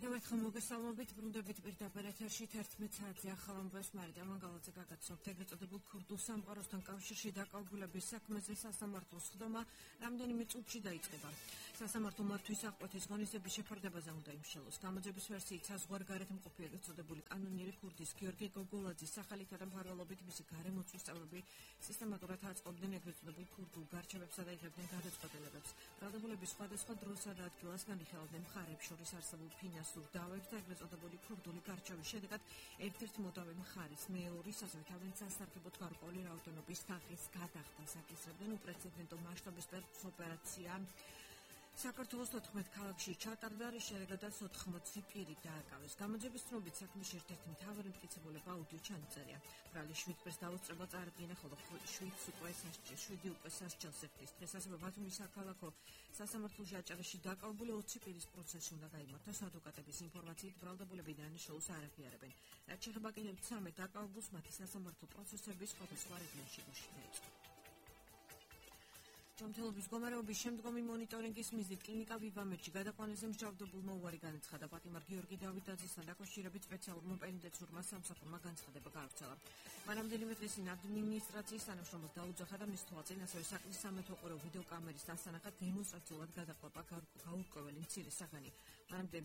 კიდევ ერთხელ მოგესალმებით, ბრუნდებით პირდაპირ ეთერში 11 საათზე ახალ ამბებს მარიდა მანგალაძე გაგაცნობთ ეგრეთ წოდებულ ქურდულ სამყაროსთან კავშირში დაკავებულების საქმეზე სასამართლოს ხდომა რამდენიმე წუთში დაიწყება. სასამართლო მართვის აღკვეთის ღონისძიების შეფარდებაზე უნდა იმშელოს. გამოძიების ვერსიით საზღვარგარეთ მყოფი ეგრეთ წოდებული კანონიერი ქურდის გიორგი გოგოლაძის სახელითა და მფარველობით მისი გარემოცვის წევრები სისტემატურად აწყობდნენ ეგრეთ წოდებულ ქურდულ გარჩევებსა და იღებდნენ გადაწყვეტილებებს. ბრალდებულების სხვადასხვა დროსა და ადგილას განიხილავდნენ მხარეებს შორის არსებულ ფინანსურ დავებს და ეგრეთ წოდებული ქურდული გარჩევის შედეგად ერთ-ერთ მოდავე მხარეს მეორის ასევე თავის სასარგებლოდ გარკვეული რაოდენობის თაღის გადახდას აკისრებდნენ უპრეცედენტო მასშტაბის ოპერაცია. საქართველოს 14 ქალაქში ჩატარდა, რის შედეგადაც 80 პირი დააკავეს. გამოძიების ცნობით საქმის ერთ-ერთი მთავარი მტკიცებულება აუდიო ჩანაწერია. ბრალი 7 პირს დაუსწრება წარადგინა, ხოლო 7 უკვე სასჯელს ეხდის. დღეს ასევე ბათუმის საქალაქო სასამართლოში აჭარაში დაკავებული 20 პირის პროცესი უნდა გაიმართოს. ადვოკატების ინფორმაციით ბრალდებულები დანაშაულს არ აღიარებენ. რაც შეეხება კიდევ 13 დაკავებულს, მათი სასამართლო პროცესები სხვადასხვა რეგიონში დაიწყო. ჯანმრთელობის მდგომარეობის შემდგომი მონიტორინგის მიზნით კლინიკა ვივამეთში გადაყვანაზე მსჯავრდებულმა უარი განაცხადა. პატიმარ გიორგი დავითაძესთან დაკავშირებით სპეციალურმა პენიტენციურმა სამსახურმა განცხადება გაავრცელა. მანამდენივე დღეს ადმინისტრაციის თანამშრომელს დაუძახა და მის თვალწინ ასევე საქმის სამეთოყურო ვიდეოკამერის დასანახად დემონსტრაციულად გადაყვება გაურკვეველი მცირე საგანი. მანამდე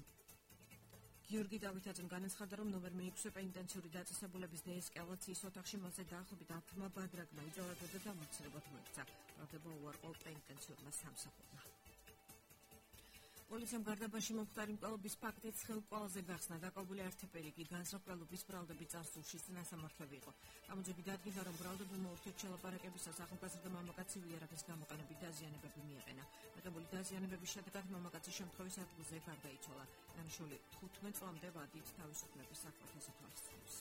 გიორგი დავითაძემ განაცხადა, რომ ნომერ მე-6 პენიტენციური დაწესებულების დეესკალაციის ოთახში მასზე დაახლოებით 10 ბადრაგმა იწოვება და დამოწირებად მოექცა. ბრალდება უარყოფა პენიტენციურმა სამსახურმა. პოლიციამ გარდაბანში მომხდარი მკვლელობის ფაქტით ხელმკვლელზე გახსნა. დაკავებული ართეპერი კი განსაკუთრების ბრალდების წარსულში წინასამართლები იყო. გამოძიები დადგინდა, რომ ბრალდებულმა ურთიერთ შელაპარაკებისას ახალგაზრდა მამაკაცი ვიარაღის გამოყენებით დაზიანებები მიაყენა. მიღებული დაზიანებების შედეგად მამაკაცი შემთხვევის ადგილზე გარდაიცვალა. დანაშაული 15 წლამდე ვადით თავისუფლების საქმეზე თვალსაჩინოს.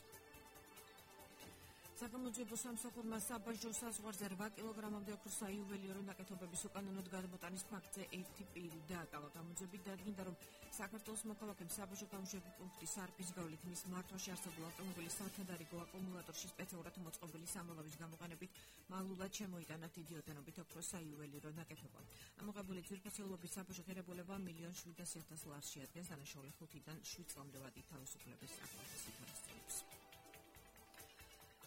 საგამოძიებო სამსახურმა საბაჟო საზღვარზე 8 კილოგრამამდე ოქროს საიუველირო ნაკეთობების უკანონოდ გადმოტანის ფაქტზე 1 პირი დააკავა. გამოძიებით დადგინდა, რომ საქართველოს მოქალაქემ საბაჟო გამოშვების პუნქტის სარფის გავლით მის მართვაში არსებულ ავტომობილის სათადარიგო აკუმულატორში სპეციალურად მოწყობილი სამალავის გამოყენებით მალულად შემოიტანა დიდი ოდენობით ოქროს საიუველირო ნაკეთობა. ამოღებული ძვირფასეულობის საბაჟო ღირებულება 1,700,000 ლარს შეადგენს. დანაშაული 5-დან 7 წლამდე ვადით თავისუფლების საქმეზე თვალსაჩინოს.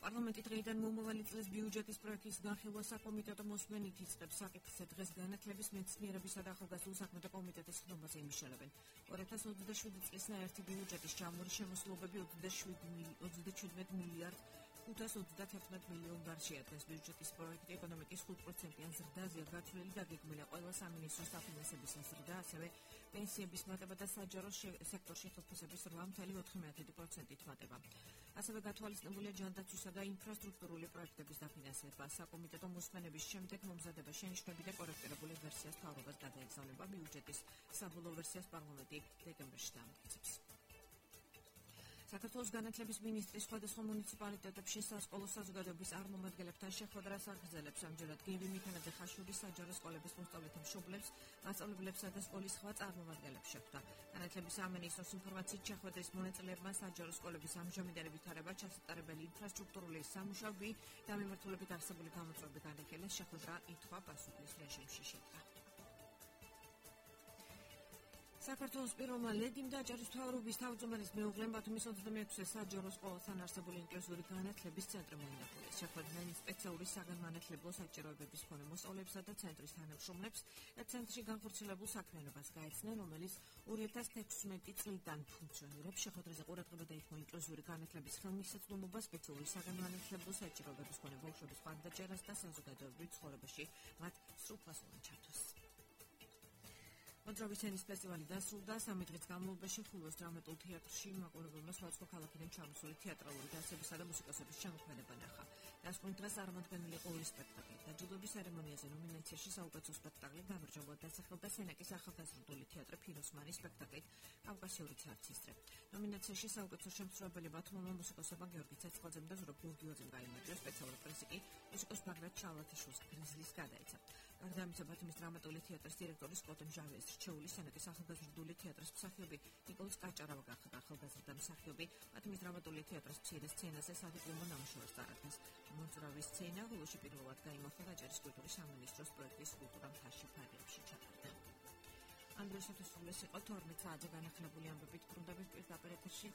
პარლამენტი დღეიდან მომავალი წლის ბიუჯეტის პროექტის განხილვა საკომიტეტო მოსმენით იწყებს. საკითხზე დღეს განათლების, მეცნიერებისა და ახალგაზრდულ საქმეთა კომიტეტის ხდომაზე იმიშალებენ. 2027 წლის ნაერთი ბიუჯეტის ჯამური შემოსვლობები 37 მილიარდ 531 მილიონ ლარს შეადგენს. ბიუჯეტის პროექტი ეკონომიკის 5%-იან ზრდაზეა გათვლილი და გეგმილია ყველა სამინისტროს საფინანსების ზრდა, ასევე პენსიების მატება და საჯარო სექტორში ხელფასების 8,4%-ით მატება. ასევე გათვალისწინებულია ჯანდაცვისა და ინფრასტრუქტურული პროექტების დაფინანსება. საკომიტეტო მოსმენების შემდეგ მომზადება შენიშვნები და კორექტირებული ვერსიას მთავრობას გადაეგზავნება. ბიუჯეტის საბოლოო ვერსიას პარლამენტი დეკემბერში დაამტკიცებს. საქართველოს განათლების მინისტრი სხვადასხვა მუნიციპალიტეტებში სასკოლო საზოგადოების წარმომადგენლებთან შეხვედრას აგრძელებს. ამჯერად გივი მიქანაძე ხაშურის საჯარო სკოლების მოსწავლეთა მშობლებს, მასწავლებლებსა და სკოლის სხვა წარმომადგენლებს შეხვდა. განათლების სამინისტროს ინფორმაციით შეხვედრის მონაწილეებმა საჯარო სკოლების ამჟამინდელი ვითარება, ჩასატარებელი ინფრასტრუქტურული სამუშაოები და მიმართულებით არსებული გამოწვევები განიხილეს. შეხვედრა ითქვა-პასუხის რეჟიმში შედგა. საქართველოს პირველმა ლედის და აჭარის მთავრობის თავმჯდომარის მეუღლემ ბათუმის 26-ე საჯარო სკოლასთან არსებული ინკლუზიური განათლების ცენტრი მოინახულეს. შეხვედრიდან სპეციალური საგანმანათლებლო საჭიროებების მქონე მოსწავლეებსა და ცენტრის თანამშრომლებს და ცენტრში განხორციელებულ საქმიანობას გაეცნენ, რომელიც 2016 წლიდან ფუნქციონირებს. შეხვედრაზე ყურადღება დაითმო ინკლუზიური განათლების ხელმისაწვდომობა, სპეციალური საგანმანათლებლო საჭიროებების მქონე ბავშვების ხარდაჭერას და საზოგადოებრივ ცხოვრებაში მათ სრულფასოვან ჩართვას. მოძრავი სცენის ფესტივალი დასრულდა. 3 დღის განმავლობაში ხულოს დრამატულ თეატრში მაყურებელმა სხვადასხვა ქალაქიდან ჩამოსული თეატრალური დასებისა და მუსიკოსების შემოქმედება ნახა. დასკვნით დღეს წარმოდგენილი იყო 2 სპექტაკლი. დაჯილდოების ცერემონიაზე ნომინაციაში საუკეთესო სპექტაკლი გამარჯვებულად დასახელდა სენაკის ახალგაზრდული თეატრი ფიროსმანის სპექტაკლით კავკასიური ცარცისტრე. ნომინაციაში საუკეთესო შემსრულებელი ბათუმელმა მუსიკოსებმა გიორგი ცეცხლაძემ და ზურაბ გურგიოძემ გაიმარჯვა. სპეციალური პრიზი კი მუსიკოს ბაგრატ ჩალათიშვილს გრიზლის გადაეცა. გარდა ამისა, ბათუმის დრამატული თეატრის დირექტორი სკოტ მჟავეს რჩეული სენაკის ახალგაზრდული თეატრის მსახიობი ნიკოლოზ კაჭარავა გახდა ახალგაზრდა მსახიობი. ბათუმის დრამატული თეატრის მცირე სცენაზე სადიპლომო ნამუშევარს წარადგენს. მოძრავი სცენა გულში პირველად გაიმართა აჭარის კულტურის სამინისტროს პროექტის კულტურა მთაში ფარგლებში ჩატარდა. ამ დროისათვის ეს იყო 12 საათზე განახლებული ამბებით ბრუნდებით პირდაპირ ეთერში.